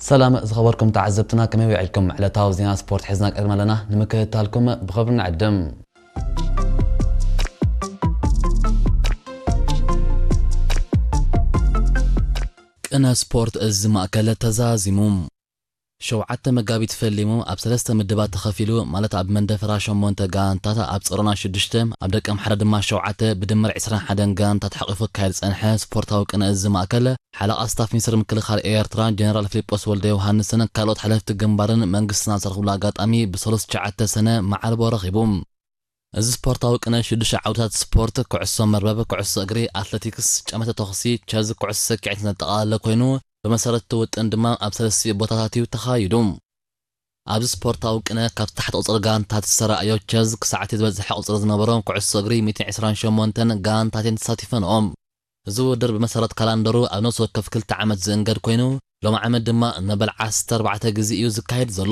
ሰላም ዝኸበርኩም ተዓዘብትና፣ ከመይ ውዒልኩም? ዕለታዊ ዜና ስፖርት ሒዝና ቀሪብና ኣለና፣ ንምክትታልኩም ብኽብሪ ንዕድም። ቅነ ስፖርት እዚ ማእከል ተዛዚሙ። ሸውዓተ መጋቢት ፈሊሙ ኣብ ሰለስተ ምድባት ተኸፊሉ፣ ማለት ኣብ መንደፈራ ሸሞንተ ጋንታት፣ ኣብ ጸሮና ሽዱሽተ፣ ኣብ ደቀምሓረ ድማ ሸውዓተ፣ ብድምር ዕስራን ሓደን ጋንታት ሓቂፉ ክካየድ ዝጸንሐ ስፖርታዊ ቅነ እዚ ማእከል፣ ሓለቓ ስታፍ ሚኒስትር ምክልኻል ኤርትራ ጀነራል ፊሊጶስ ወልደ ዮሃንስን ካልኦት ሓለፍቲ ግንባርን መንግስትና ዝተረኽብሉ ኣጋጣሚ ብሰሉስ ትሽዓተ ሰነ መዓልቦ ረኺቡ። እዚ ስፖርታዊ ቅነ ሽዱሽተ ዓውድታት ስፖርት፣ ኩዕሶ መርበብ፣ ኩዕሶ እግሪ፣ ኣትለቲክስ፣ ጨመተ ተኹሲ፣ ቸዝ፣ ኩዕሶ ሰኪዔት ዘጠቓለለ ኮይኑ፣ ብመሰረት እቲ ውጥን ድማ ኣብ ሰለስቲኡ ቦታታት እዩ ተኻይዱ። ኣብዚ ስፖርታዊ ቅነ ካብቲ ታሕቲ ቁጽሪ ጋንታት ዝተራእዮ ቸዝ ክሳዕ እቲ ዝበዝሐ ቁጽሪ ዝነበሮም ኩዕሶ እግሪ ሚእትን ዕስራን ሸሞንተን ጋንታት እየን ተሳቲፈንኦም። እዚ ውድድር ብመሰረት ካላንደሩ ኣብ ነፍሲ ወከፍ ክልተ ዓመት ዝእንገድ ኮይኑ፣ ሎም ዓመት ድማ መበል ዓሰርተ ኣርባዕተ ግዜ እዩ ዝካየድ ዘሎ።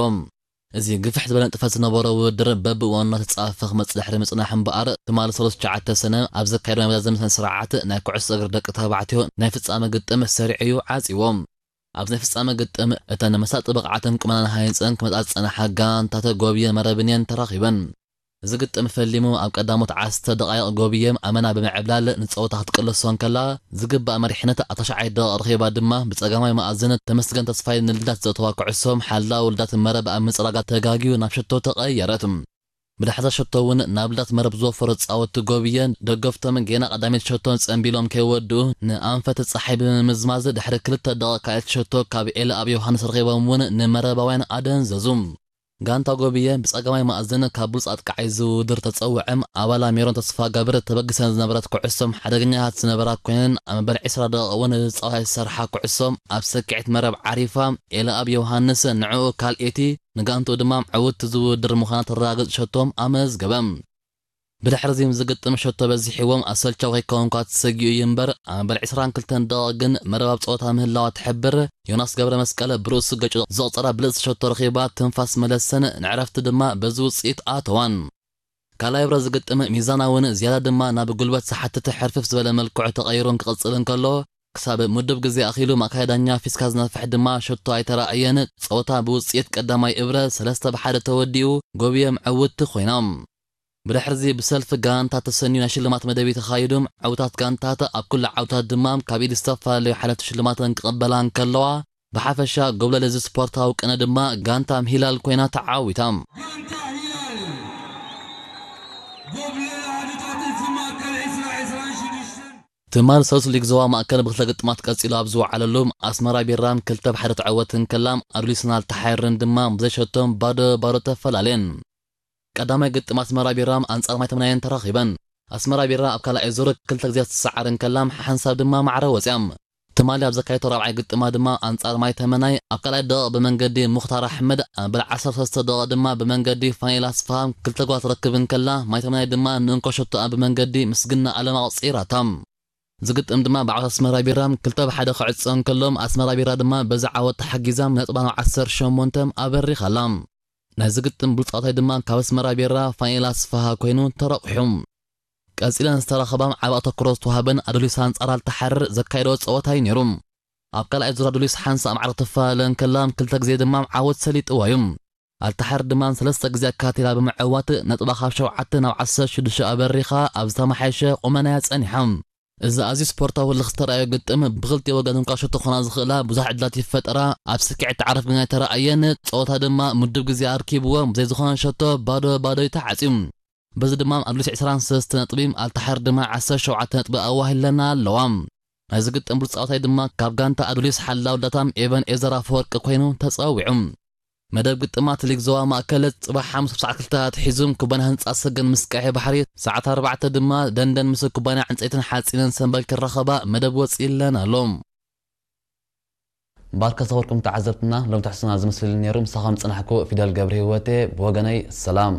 እዚ ግፍሕ ዝበለ ንጥፈት ዝነበሮ ውድድር በብእዋኑ እናተጻፈፈ ክመጽእ ድሕሪ ምጽናሕ እምበኣር፣ ትማሊ ሰሉስ ትሽዓተ ሰነ ኣብ ዘካየዶ ናይ መዛዘሚ ስነ ስርዓት ናይ ኩዕሶ እግሪ ደቂ ተባዕትዮ ናይ ፍጻመ ግጥም ሰሪዑ እዩ ዓጺዎ። ኣብዚ ናይ ፍጻመ ግጥም እተን መሳጢ ብቕዓትን ቁመናን ሃኒጸን ክመጻ ዝጸንሓ ጋንታት ጎብየ መረብን እየን ተራኺበን። እዚ ግጥም ፈሊሙ ኣብ ቀዳሞት ዓሰርተ ደቓይቕ ጎብየ ኣመና ብምዕብላል ንጸወታ ክትቅልሶ እንከላ፣ ዝግባእ መሪሕነት ኣብ ታሽዓይ ደቓይቕ ረኺባ ድማ ብጸጋማይ መኣዝን ተመስገን ተስፋይ ንልዳት ዘእተዋ ኩዕሶ ሓላው ልዳት መረብ ኣብ ምጽራጋ ተጋግዩ ናብ ሸቶ ተቐየረት። ብድሕሪ እዛ ሸቶ እውን ናብ ልዳት መረብ ዝወፈሩ ተጻወትቲ ጎብየ ደገፍቶም ጌና ቀዳመይቲ ሸቶ ጸንቢሎም ከይወድኡ ንኣንፈት ጸሓይ ብምምዝማዝ ድሕሪ ክልተ ደቓይቕ ካልኣይቲ ሸቶ ካብ ኤልኣብ ዮሃንስ ረኺቦም እውን ንመረባውያን ኣደንዘዙ። ጋንታ ጎብየ ብጸጋማይ መኣዝን ካብ ብሉጽ ኣጥቃዓይ ዝውድር ተጸውዐም ኣባላ ሜሮን ተስፋገብር ተበግሰን ዝነበረት ኩዕሶም ሓደገኛታት ዝነበራ ኮይነን ኣብ መበል ዕስራ ደቓይቕ እውን ነዚ ጸወታ ዝሰርሓ ኩዕሶም ኣብ ሰኪዔት መረብ ዓሪፋ ኤልኣብ ዮሃንስ ንዕኡ ካልኤቲ ንጋንትኡ ድማ ዕውትቲ ዝውድር ምዃና ተረጋግጽ ሸቶም ኣመዝገበ። ብድሕሪ እዚ ዝግጥም ሸቶ በዚሕዎም ኣሰልቻዊ ከይከውን እኳ ተሰጊኡ እዩ እምበር፣ ኣብ መበል ዕስራን ክልተን ደቓይቕ ግን መረብ ኣብ ጸወታ ምህላዋ ትሕብር። ዮናስ ገብረ መስቀል ብርእሱ ገጭ ዘቑጸራ ብልጽቲ ሸቶ ረኺባ ትንፋስ መለሰን፣ ንዕረፍቲ ድማ በዚ ውጽኢት ኣተዋን። ካልኣይ ብረት ዝግጥም ሚዛናውን ዝያዳ ድማ ናብ ጉልበት ዝሓትት ሕርፍፍ ዝበለ መልክዑ ተቐይሩ ክቕጽል እንከሎ፣ ክሳብ ምዱብ ግዜ ኣኺሉ ማእከላይ ዳኛ ፊስካ ዝነፍሕ ድማ ሸቶ ኣይተራእየን። ጸወታ ብውጽኢት ቀዳማይ እብረ ሰለስተ ብሓደ ተወዲኡ፣ ጎብየ ዕውትቲ ኮይና። ብድሕርዚ ብሰልፊ ጋንታት ተሰንዩ ናይ ሽልማት መደብ እዩ ተኻይዱ። ዕውታት ጋንታት ኣብ ኩሉ ዓውታት ድማ ካብ ኢድ ዝተፈላለዩ ሓለፍቲ ሽልማተን ክቕበላ እንከለዋ፣ ብሓፈሻ ጎብለል እዚ ስፖርታዊ ቅነ ድማ ጋንታ ሂላል ኮይና ተዓዊታ። ጋንታ ሂላል ጎብለል ኣሃዱታት እቲ ማእከል ዕስራ ዕስራን ሽዱሽተን። ትማል ሰሉስ ሊግ ዞባ ማእከል ብክልተ ግጥማት ቀጺሉ ኣብ ዝወዓለሉ ኣስመራ ቢራም ክልተ ብሓደ ትዕወት እንከላ፣ ኣዱሊስን ኣልተሓይርን ድማ ብዘይሸቶም ባዶ ባዶ ተፈላለየን። ቀዳማይ ግጥም ኣስመራ ቢራም ኣንጻር ማይ ተምናየን ተራኺበን። ኣስመራ ቢራ ኣብ ካልኣይ ዙር ክልተ ግዜ ትሰዓር እንከላ፣ ሓንሳብ ድማ ማዕረ ወጽያ። ትማሊ ኣብ ዘካየቶ ራብዓይ ግጥማ ድማ ኣንጻር ማይ ተመናይ ኣብ ካልኣይ ደቂቕ ብመንገዲ ሙኽታር ኣሕመድ፣ ኣብ በል ዓሰርተ ሰለስተ ደቂቕ ድማ ብመንገዲ ፋኒል ኣስፍሃ ክልተ ጓል ትረክብ እንከላ፣ ማይ ተመናይ ድማ ንእንኮ ሸቶኣ ብመንገዲ ምስግና ኣለም ኣቑጺራታ። ዝግጥም ድማ ብዓወት ኣስመራ ቢራ ክልተ ብሓደ ክዕጾ እንከሎ፣ ኣስመራ ቢራ ድማ በዚ ዓወት ተሓጊዛ ነጥባ ናብ ዓሰርተ ሸሞንተ ኣበሪኻ ኣላ። ናይ ዝግጥም ብሉጽ ተጻዋታይ ድማ ካብ ኣስመራ ቢራ ፋኒል ኣስፍሃ ኮይኑ ተረቑሑ። ቀጺለን ዝተረኸባ ዓቢ ኣተኩሮ ዝተዋህበን ኣዱሊስ ኣንጻር ኣልተሓርር ዘካየዶ ጸወታ እዩ ነይሩ። ኣብ ካልኣይ ዙር ኣዱሊስ ሓንሳእ ማዕረ ክትፈላለ እንከላ፣ ክልተ ግዜ ድማ ዓወት ሰሊጥዋ እዩ። ኣልተሓርር ድማ ሰለስተ ግዜ ኣካቲላ ብምዕዋት ነጥባ ካብ ሸውዓተ ናብ ዓሰርተ ሽዱሽተ ኣበሪኻ ኣብ ዝተመሓየሸ ቁመናያ ጸኒሓ። እዚ ኣዝዩ ስፖርታዊ ህልኽ ዝተራእዮ ግጥም፣ ብኽልቲኡ ወገን እንኳ ሸቶ ክኾና ዝኽእላ ብዙሕ ዕድላት ይፈጠራ፣ ኣብ ስክዒት ዓረፍ ግን ኣይተራእየን። ጸወታ ድማ ምዱብ ግዜ ኣርኪብዎ፣ ብዘይ ዝኾነ ሸቶ ባዶ ባዶ እዩ ተዓጽዩ። በዚ ድማ ኣዱሊስ ዕስራን ሰለስተ ነጥቢ፣ ኣልተሓርር ድማ ዓሰርተ ሸውዓተ ነጥቢ ኣዋሂለና ኣለዋ። ናይዚ ግጥም ብሉጽ ተጻዋታይ ድማ ካብ ጋንታ ኣዱሊስ ሓላው ዳታም ኤቨን ኤዘር ኣፈወርቂ ኮይኑ ተጸዊዑ። መደብ ግጥማት ሊግ ዞባ ማእከል ጽባሕ ሓሙስ ክሳዕ ክልተ ኣትሒዙ ኩባንያ ህንጻ ሰገን ምስ ቀይሕ ባሕሪ፣ ሰዓት ኣርባዕተ ድማ ደንደን ምስ ኩባንያ ዕንጸይትን ሓጺንን ሰንበል ክራኸባ መደብ ወጺእለን ኣሎ። ባርከ ዝኸበርኩም ተዓዘብትና፣ ሎም ትሕዝቶና ዝመስል ነይሩ። ምሳኹም ዝጸናሕኩ ፊደል ገብረ ህይወቴ፣ ብወገነይ ሰላም።